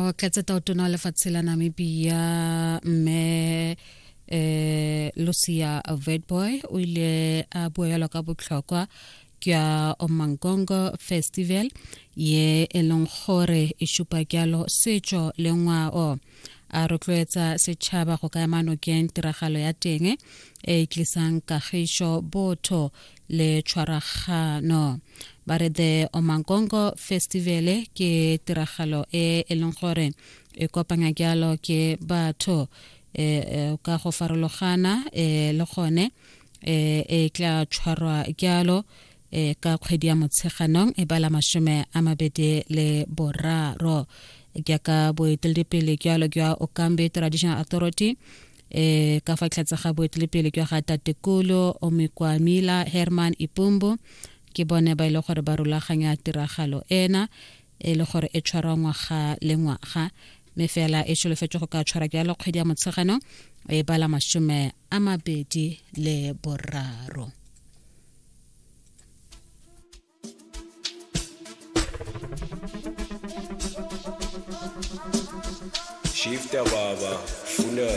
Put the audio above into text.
Motlatsa tautona wa lefatshe la Namibia, mme Lucia Witbooi, o ile a bua jalo ka botlhokwa jwa Omangongo Festival ye e leng gore e supa jalo setso le ngwao, a rotloetsa setšhaba go ka ema nokeng tiragalo ya teng e e tlisang kagišo, botho le tshwaragano. Ba re the Omangongo Festival ke tiragalo e e leng gore e kopanya jalo ke batho ka go farologana, le gone e tla tshwarwa jalo ka kgwedi ya Motsheganong e bala 23, jaaka boeteledipele jalo jwa Okambi Traditional Authority ka fa tlhatse ga boeteledipele jwa ga Tatekolo Omekwamila Herman Ipumbu, ke bone ba ile gore ba rulaganya tiragalo ena e le gore e tshwarwa ngwaga le ngwaga, mme fela e solofetswe go ka tshwara jalo kgwedi ya Motsheganong e bala 23. Shifta baba, funa.